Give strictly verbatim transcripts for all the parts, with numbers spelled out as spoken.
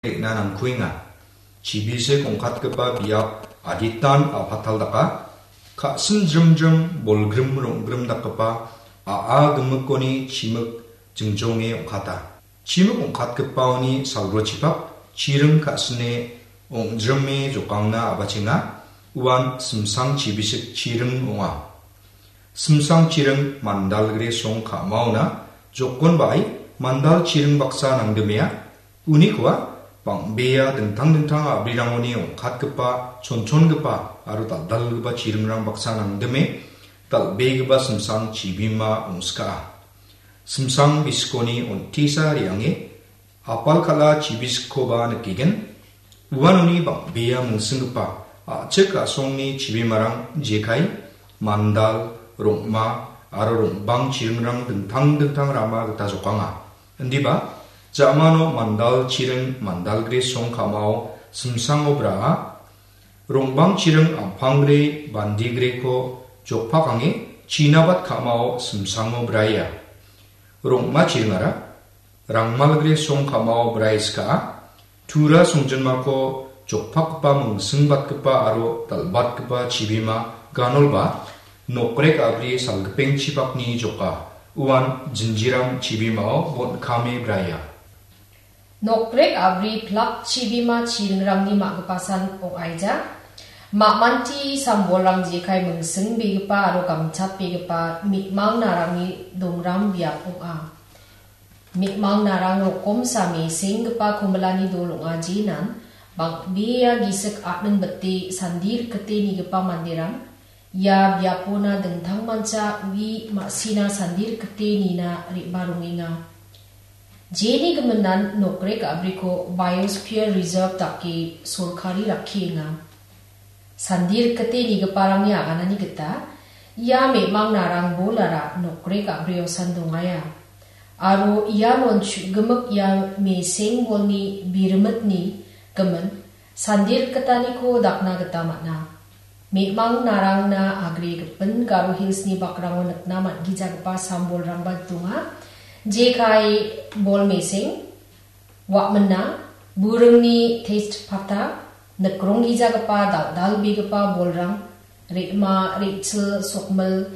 re·na nangkuenga. Chibisik ong·katgipa biap aditan a·patal daka, ka·sin jrimjrim bolgrim rong·grim dakgipa a·a gimikoni chimik jingjonge ong·kata. Chimik ong·katgipaoni salgrochipak chiring ka·sine ong·drime jokangna a·bachenga, uan simsang chibisik chiring ong·a. Simsang chiring mandalgre song ka·maona jokon ba·ai mandal chiring baksa nangdimea, unikoa bang·bea dingtang dingtang a·brirangoni ong·katgipa, chonchongipa aro dal·dalgipa chiringrang baksa nangdime dal·begipa simsang chibima ong·skaa. Simsang biskoni on·tisa re·ange apal kal·a chibisikkoba nikgen. Uanoni bang·bea mingsinggipa a·chik a·songni chibimarang jekai, mandal, rong·ma aro rong·bang chiringrang dingtang dingtang rama gita jokanga. Indiba, ja·mano mandal chiring, mandalgre song ka·mao simsango braa, rong·bang chiring ampangre bandigreko jokpakange chinabat ka·mao simsango braia. Rong·ma chiringara rangmalgre song ka·mao brai skaa, tura songjinmako jokpakgipa mingsingbatgipa aro dal·batgipa chibima ganolba nokrek a·bri salgipengchipakni joka, uan jinjiram chibimao bon·kame braia. Nokrek a·bri plak chibima chiringrangni ma·gipasan ong·aija. Ma·manti sambolrang jekai mingsingbegipa aro gamchatbegipa me·mang narangni dongram biap ong·a. Me·mang narang rokomsa mesenggipa komilani dol ong·a, jenan bang·bea gisik a·ning bite sandi rikite nigipa manderang ia biapona dingtangmancha ui ma·sina sandi rikite nina re·barongenga. Jeni giminan nokrek a·briko Biosphere Reserve dake sorkari rakkienga. Sandi rikite nigiparangni aganani gita ia me·mang narang bolara nokrek a·brio sandongaia. Aro ianon chu·gimik ia meseng bolni birimitni gimin sandi rikitaniko dakna gita man·a. Me·mang narangna agre gipin Garo Hillsni bakrango nikna man·gijagipa sambolrangba donga. Jekai bol meseng, wa·mina, buringni test pata, nikronggijagipa dal·dalbegipa bolrang, re·ma, re·chil, sokmil,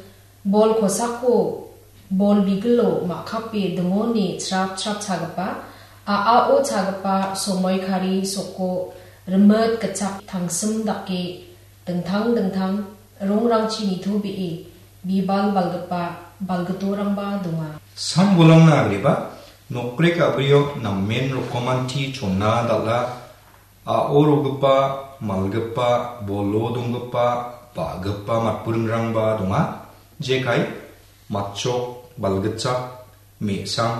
bol kosako, bol bigilo ma·kape dingone chrap chrap chagipa, a·ao chagipa, somoikari, soko, rimit, gitchak, tangsim dake dingtang dingtang rongrangchi nitobee bibal balgipa balgitorangba donga. Sambolrangna agreba, nokrek a·brio namen rokomanti chona dal·a, a·o rogipa, malgipa, bolo donggipa, ba·gipa matburingrangba donga. Jekai, matchok, balgitchak, me·sam,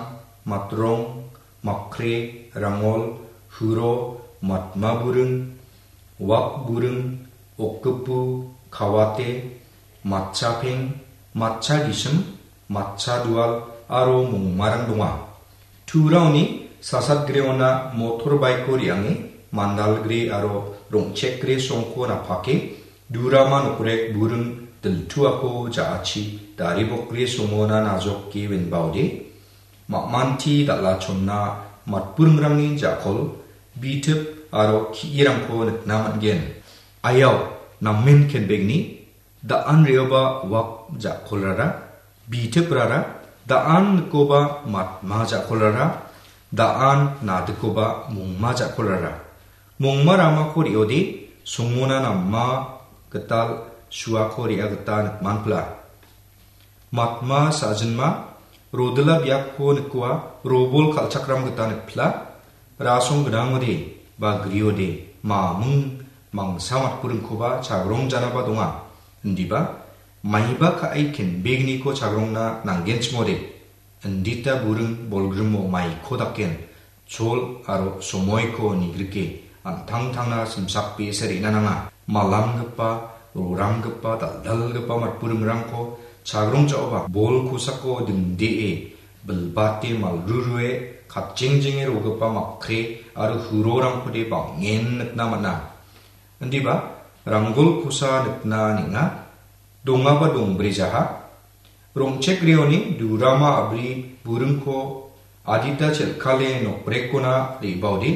matrong, makre, rangol, huro, matma buring, wak buring, okgipu, kawate, matchapeng, matcha gisim, matcha dual aro mongmarang donga. Turaoni sasatgreona motorbike-ko re·ange mandalgre aro rong·chekgre songko napake durama nokrek buring diltuako ja·achi daribokgre songona najoke winbaode. Ma·manti dal·a chonna matburingrangni ja·kol, bitip aro ki·irangko nikna man·gen. Ayao, namen kenbegni, da·an re·oba wak ja·kolrara, bitiprara, da·an nikoba matma ja·kolrara, da·an nadikoba mongma ja·kolrara. Mongma ramako re·ode, songona nama gital suako re·a gita nikmanpla. Matma sa·jinma, rodila biapko nikoa, robol kal·chakram gita nikpla, rasong gnangode, ba griode, maming mangsa matburingkoba chagrong janaba donga. Indiba, maiba ka·e kenbegniko chagrongna nanggenchimode, indita buring bolgrimo maiko daken, chol aro somoiko nigrike an·tangtangna simsakbese re·na nanga. Malamgipa, roramgipa, dal·dalgipa matburingrangko chagrong ja·oba bol kosako dingdee, bilbate malrurue, katjengjenge rogipa makre aro hurorangkode bang·en nikna man·a. Indiba, ranggol kosa nikna neng·a, dongaba dongbrejaha, rong·chekreoni durama a·bri buringko adita chel·kale nokbrekkona re·baode,